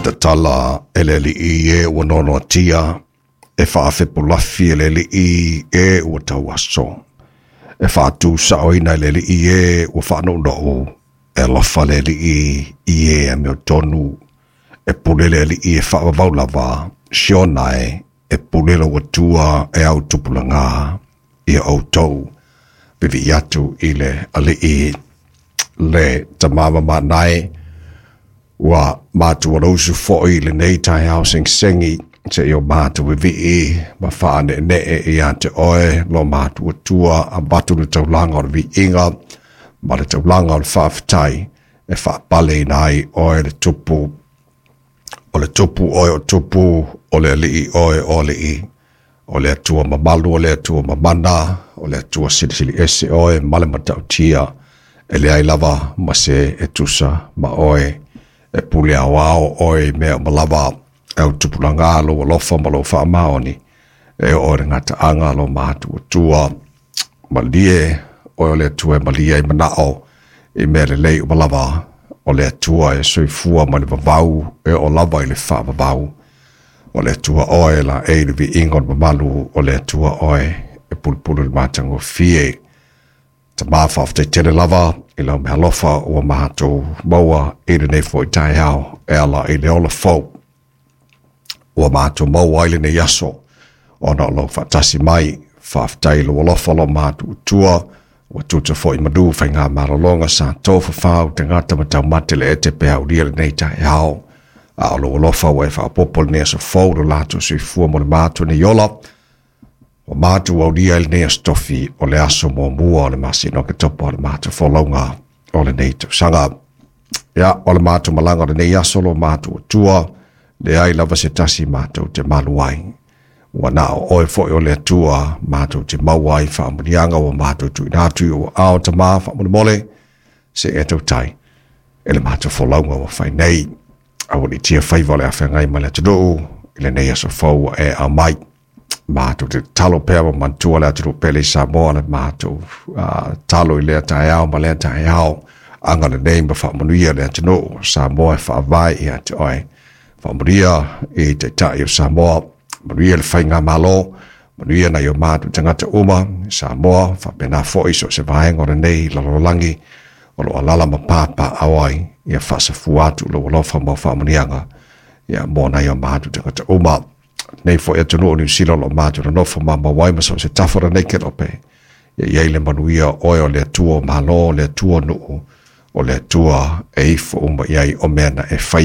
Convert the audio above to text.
Tatala e le alii e ua noanoatia, e faafepulafi e le alii e ua tauaso, e faatusaoina e le alii e ua faanounou, e alofa le alii i e amiotonu, e pule le alii e faavavau lava, Siona e, e pule lou Atua e au tupulaga ia outou. Vivii atu i le alii le tama mamanae, ua matou alausu foi i lenei taeao segisegi, seia o matou vivii ma faaneenee ia te oe lo matou Atua, avatu le taulaga o le viiga ma le taulaga o le faafetai, e faapaleina ai oe le tupu, o le tupu oe o tupu, o le alii oe o alii, o le Atua mamalu, o le Atua mamana, o le Atua silisili ese oe ma le matautia, e leai lava ma se e tusa ma oe, e pule aoao oe i mea uma lava, e au tupulaga lou alofa ma lou faamaoni, e oo i le gataaga lo matou Atua, malie oe o le Atua e malie ai manao i mea lelei uma lava, o le Atua e soifua mai le vavau e oo lava i le faavavau, o le Atua oe la e le viiga o le mamalu, o le Atua oe e pulupulu i le matagofie. Tama faafetai tele lava i lau meaalofa ua matou maua i lenei foi taeao e ala i le ola fou ua matou maua ai lenei aso, ona o lou faatasi mai. Faafetai i lou alofa lo matou Atua, ua tuta foi manu faiga malologa sa tofafau tagata ma taumate le ete pe aulia lenei taeao, a o lou alofa ua e faaopoopo lenei aso fou lo latou soifua mo le matou nei ola. Ua matou aulia i lenei aso tofi o le aso muamua o le masina o Oketopa o le matou folauga o lenei tausaga. Ia, o le matou malaga o lenei aso lo matou Atua, leai lava se tasi matou te malu ai. Ua na o oe foi o le Atua matou te maua ai faamanuiaga ua matou tuuina atu i ou aao Tama faamolemole, se e tautai e le matou folauga ua fai nei. Aualiitia faiva o le afeagai ma le atunuu i lenei aso fou ua e aumai. Matou te tatalo pea ma manatua le atunuu pele i Samoa, le matou talo i lea taeao ma lea taeao, agalelei ma faamanuia le atunuu o Samoa e faavae ia te oe. Faamanuia i Taitai o Samoa, manuia le faigamalo, manuia nai o matou tagata uma Samoa, faapena foi so o se vaega o lenei lalolagi o lo o alaala ma papaaao ai, ia faasafua atu lou alofa ma faamanuiaga ia mo nai o matou tagata uma. Nei foi atunuu o Niu Sila o lo o matou nonofo mamau ai ma so o se tafa o lenei kelope, ia i ai le manuia o oe o le Atua o Malo, o le Atua o nuu, o le Atua e ifo uma i ai o mea na e faia.